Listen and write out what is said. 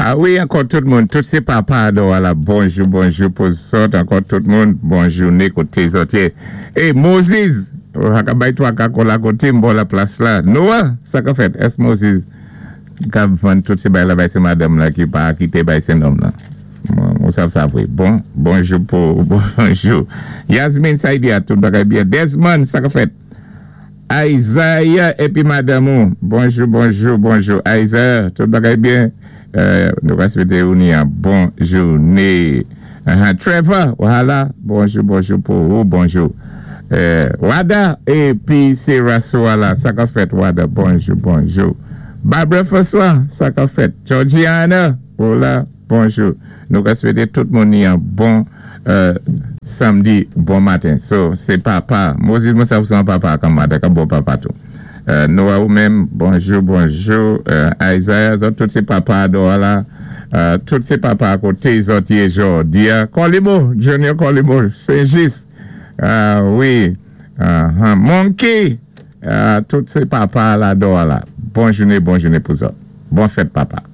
A wi, ankò tout moun, tout sé papa adò a la, bonjou, bonjou pou zòt, ankò tout moun, bon jouné koté zòt yé. É Moses, ou pa ka bay twaka kò la koté m ba w la plas la. Noah, sa ka fèt? Èske Moses kab vann tout sé bay la bay sé madanm la ki pa kité bay sé nonm lan? Ou sav sa vwé. Bon, bonjou pou, bonjou. Yasmine Saidia, tout bagay byen. Desmond, sa ka fèt? Isaiah epi madanm ou. Bonjou bonjou bonjou Isaiah tout bagay byen nou va swete ou ni yon bon joune Trevor wahala bonjou bonjou pou ou bonjou Wada epi se Rasoala sa kap fèt Wada bonjou bonjou Barbara François sa kap fèt Georgiana ou la. Bonjou nou ka swete tout moun yon bon samdi bon maten so se papa Moses mwen sa ou se yon papa ak mother ka bon papa tou Noah ou menm bonjou bonjou Isaiah zòt tout se papa Dora tout se papa kote zòt ye jòdia Kòlimo Junior Kòlimo Senjis wi Monkey tout se papa la Dora bon joune bon joune pou zòt bon fèt papa.